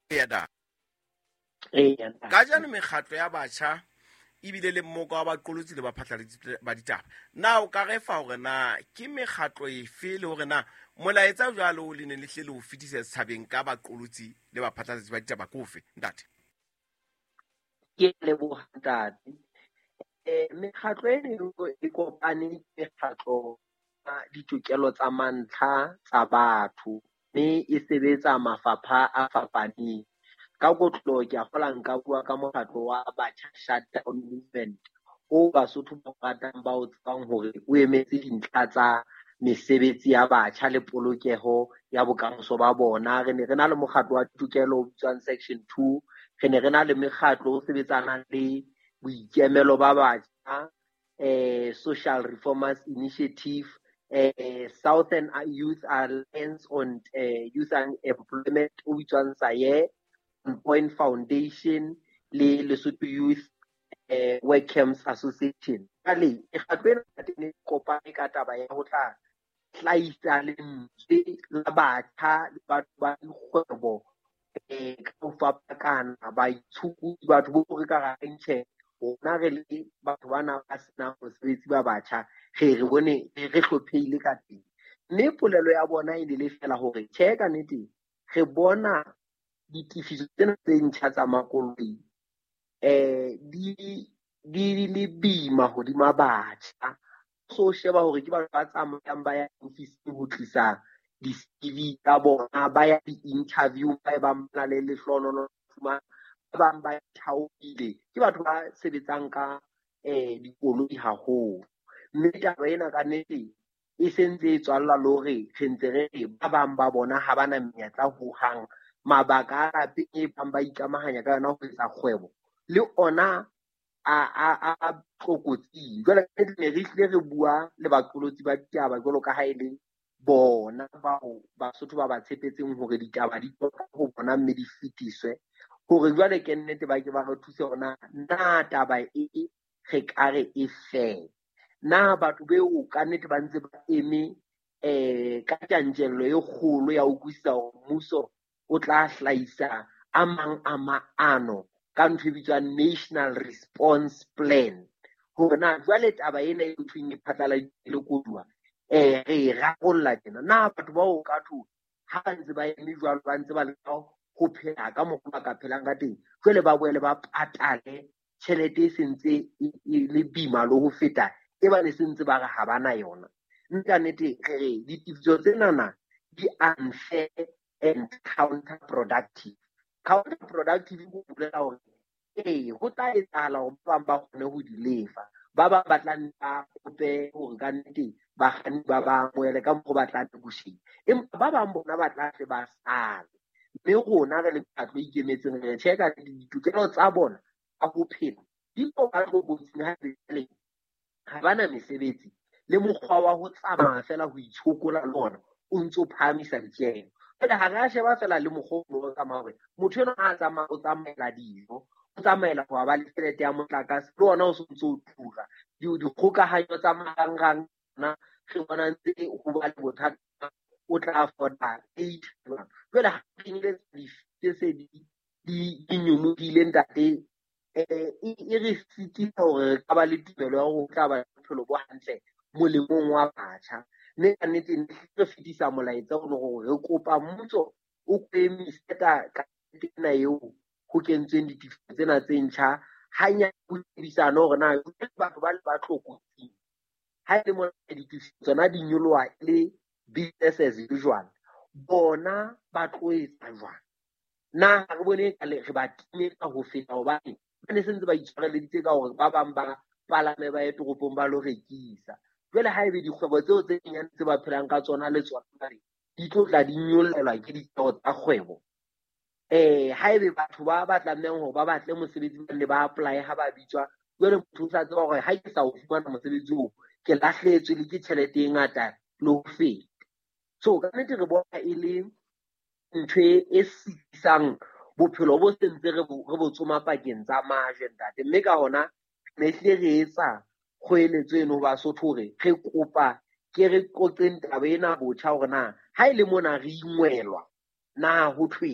Eya. Eya. Kajeno mekgatlo ya batjha ebile le mmoka wa baqolotsi le baphatlalatsi ba ditaba. Na o ka re fa hore na ke mekgatlo efe le hore na molaetsa jwalo le ne le hle le ho fetisa setjhabeng ka baqolotsi le baphatlalatsi ba ditaba ke ofe, ntate? Ke leboha, ntate. Mekgatlo eno e kopane ke mekgatlo ya ditokelo tsa mantlha tsa batho, mme e sebetsa mafapha a fapaneng. Ka kotloloho ke a kgola nka bua ka mokgatlo wa Batjha Shutdown Movement o Basotho ba ratang ba o tsebang hore o emetse dintlha tsa mesebetsi ya batjha le polokeho ya bokamoso ba bona. Re ne re na le mokgatlo wa ditokelo o bitswang Section 2, re ne re na le mekgatlo o sebetsanang le boikemelo ba batjha, Social Reformers Initiative, Southern Youth Alliance on Youth Unemployment o bitswang SAYE, Point Foundation le Lesotho Youth Work Camps Association. Jwale mekgatlo ena ne kopane ka taba ya ho tla hlahisa lentswe la batjha le batho ba dikgwebo ka ho fapakana, baitshokodi, batho bo re ka reng tjhe, rona re le batho bana ba senang mosebetsi ba batjha, re bone re hlophehile ka teng. Mme polelo ya bona e ne le fela hore tjhe, ka nnete re bona ditefiso tsena tse ntjha tsa makoloi di le boima hodima batjha. So sheba hore ke batho ba tsamayang ba ya ofising ho tlisa di-CV tsa bona, ba ya di-interview, ba bang ba na le lehlohonolo, ba bang ba thaohile, ke batho ba sebetsang ka dikoloi haholo. Mme taba ena ka nnete e sentse e tswalla le hore re ntse re re ba bang ba bona ha ba na menyetla hohang. Mabaka a lapeng e bang ba ikamahanya ka yona ho etsa kgwebo le ona a tlokotsing. Jwale ne re hlile re bua le baqolotsi ba ditaba jwalo ka ha e le bona bao Basotho ba ba tshepetseng hore ditaba di tswa ho bona mme di fetiswe, hore jwale ke nnete ba ke ba re thuse hore na taba e re ka re e fele. Na batho beo ka nnete ba ntse ba eme ka tjantjello e kgolo ya ho utlwisisa hore mmuso o tla hlahisa a mang a maano ka ntho e bitswang National Response Plan, hore na jwale taba ena e thweng e phatlaladitswe le koduwa re e rarolla tjena. Na batho bao ka thwe ha ba ntse ba eme jwalo, ba ntse ba leka ho phela ka mokgwa ba ka phelang ka teng, jwale ba boele ba patale tjhelete e sentse e le boima le ho feta e ba ne sentse ba re ha ba na yona. Mme ka nnete re re ditefiso tsenana di unfair and counterproductive. Counterproductive ho bolela hore ee, ho tla etsahala hore ba bang ba kgone ho di lefa, ba bang ba tla nne ba kope hore ka nnete bakganni ba ba amohele ka mokgwa ba tla negotiate, empa ba bang bona ba tla tle ba sale. Mme rona re le mekgatlo e ikemetseng re tjhe ka ditokelo tsa bona tsa ho phela di tlo ba tlokotsing ha jwale ha ba na mesebetsi le mokgwa wa ho tsamaya fela ho itshokola le ona o ntso phahamisa ditjeho. Jwale ha re a sheba fela le mokgwa o tsamaya hore motho enwa ha a tsamaya o tsamaela dijo, o tsamaela ho ba le tjhelete ya motlakase, le ona o sontso o tura. Dikgokahanyo tsa marangrang na re bona ntse ho ba le bothata, o tla afforda eight. Jwale ha kenyeletsa tse se di nyolohile ntate, e re sitisa hore re ka ba le tumelo ya hore ho tla ba le bophelo bo hantle molemong wa batjha. Mme ka nnete re fetisa molaetsa o le hore re kopa mmuso o emise ka ena eo ho kentsweng ditefiso tsena tse ntjha, hanyane ho shebisane hore na batho ba le ba tlokotsing. Ha e le mona ditefiso tsona di nyoloha e le business as usual, bona ba tlo etsa jwang? Na ha re bone ka le re ba timetsa ho feta, hobane ba ne se ntse ba itshwareleditse ka hore ba bang ba palame ba ye toropong ba lo rekisa. Jwale ha ebe dikgwebo tseo tse nyenyane tse ba phelang ka tsona le tsona jwale di tlo tla di nyollelwa ke ditjeho tsa kgwebo. Ha ebe batho ba tlamehang hore ba batle mosebetsi ba nne ba apply ha ba bitswa, jwale motho o sa tseba hore ha ke sa o fumana mosebetsi oo, ke lahlehetswe le ke tjhelete e ngata le ho feta. So ka nnete re bona e le ntho e sitisang bophelo bo sentse re bo tsoma pakeng tsa majwe ntate. Mme ka hona ne hlile re etsa kgoeletso eno ho Basotho hore re kopa ke re qoqeng taba ena botjha hore na ha e le mona re ingwelwa na ho thweng.